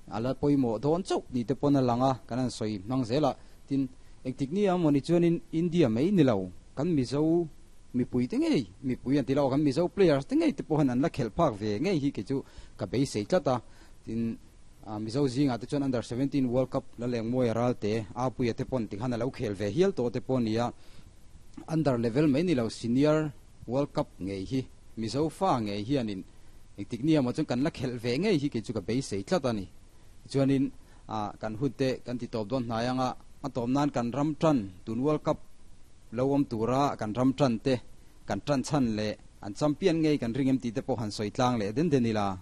A la pawimawh dawn chauh ni te pawn a lang a, kan han sawi hmang zel a. Tin, engtik ni a mawni chuanin India mai ni lo, kan Mizo mipui te ngei, mipui an ti lo, kan Mizo players te ngei te pawh hian an la khelh phak ve ngei hi kei chu ka beisei tlat a. Tin, Mizo zingah te chuan Under 17 World Cup la leng mawi a ral te, Apuia te pawn tikhan a lo khel ve hial tawh te pawh a ni a. Under level mai ni lo, Senior World Cup ngei hi Mizo fa ngei hianin engtik ni emaw chuan kan la khelh ve ngei hi kei chu ka beisei tlat a ni. Tichuanin kan hun te kan ti tawp dawn hnai anga a tawp nan kan ram tan tun World Cup lo awm tura kan ram tan te kan tan chhan leh an champion ngei kan ring em tih te pawh han sawi tlang leh den den ila.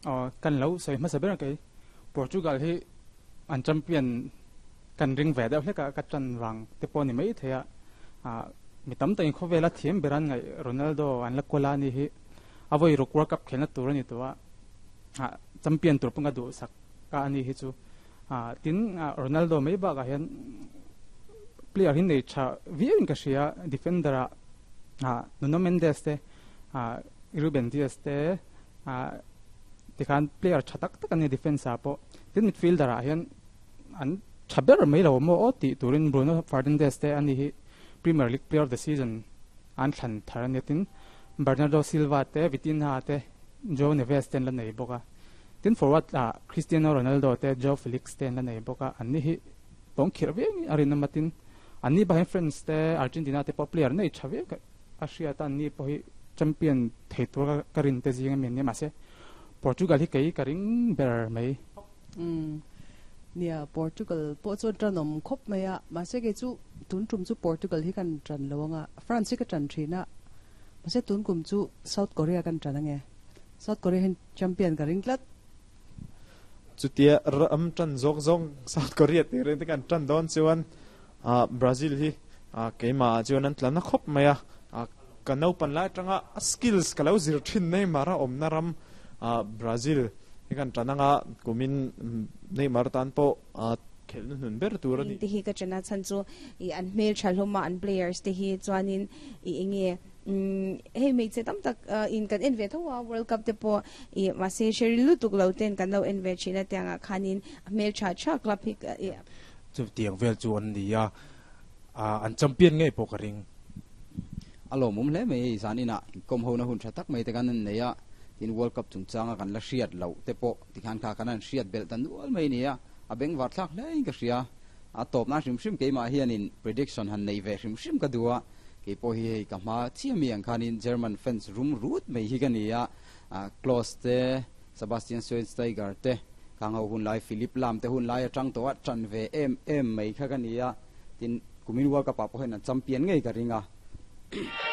Aw kan lo sawi hmasa ber kei Portugal hi an champion kan ring ve deuh hlek a ka tan vang te pawh a ni mai thei a ah mi tam takin khawvela thiam ber an ngaih Ronaldo an la kual a ni hi a vawi ruk World Cup khelna tur a ni tawh a ah champion tur pawh ka duhsak a ani hi chu ah tin Ronaldo mai bakah hian player hi nei tha viau in ka hria defender ah ah Nuno Mendes te ah Ruben Dias te ah tikhan player tha tak tak an ni defence ah pawh tin midfielder ah hian an tha ber mai lo maw aw tih turin Bruno Fernandes te ani hi Premier League player of the season an thlan thar a nia tin Bernardo Silva te Vitinha te Joao Neves te an la nei bawk a tin forward ah Cristiano Ronaldo te Joao Felix te an la nei bawk a anni hi tawng khirh viau in a rinawm a tin anni bakah hian France te Argentina te pawh player nei tha viau a hriat a anni pawh hi champion thei tur ka rin te zing a mi an nia mahse Portugal hi kei ka ring ber mai. Umm nia Portugal pawh chuan tanawm khawp mai a mahse kei chu tun tum chu Portugal hi kan tan lo anga France hi ka tan thin a mahse tun kum chu South Korea kan tan ange South Korea hian champion ka ring tlat. Chutia ram tan zawk zawng South Korea tih reng te kan tan dawn chuan Brazil hi keimah ah chuan an tla na khawp mai a, ka naupan lai atanga a skills ka lo zir thin Neymar a awmna ram Brazil hi kan tan anga kumin Neymar tan pawh khelhna hnun ber tur a ni. Te hi ka chana chhan chu i an hmel tha hlawm a an players te hi chuanin i enge Hei hmeichhe tam tak in kan en ve tho a, World Cup te pawh i mahse hre ri lutuk lo ten kan lo en ve thin a tiangah khanin a hmeltha tha club hi i. Chutiang vel chu an ni a, an champion ngei pawh ka ring. A lawmawm hle mai hei zan inah inkawm hona hun tha tak mai te kan an nei a, tin World Cup chungchanga kan la hriat loh te pawh tikhan kha kan han hriat belh ta nual mai a ni a, a bengvar thlak hle in ka hria. A tawp nan hrim hrim keimah hianin prediction han nei ve hrim hrim ka duh a, Kei pawh hi hei ka hma chiah mi ang khanin German fans rum rut mai hi ka ni a, Klose te, Sebastian Schweinsteiger te, khang ho hun lai Philipp Lahm te hun lai atang tawh a tan ve em em mai kha ka ni a, tin kumin World Cup ah pawh hian an champion ngei ka ring a.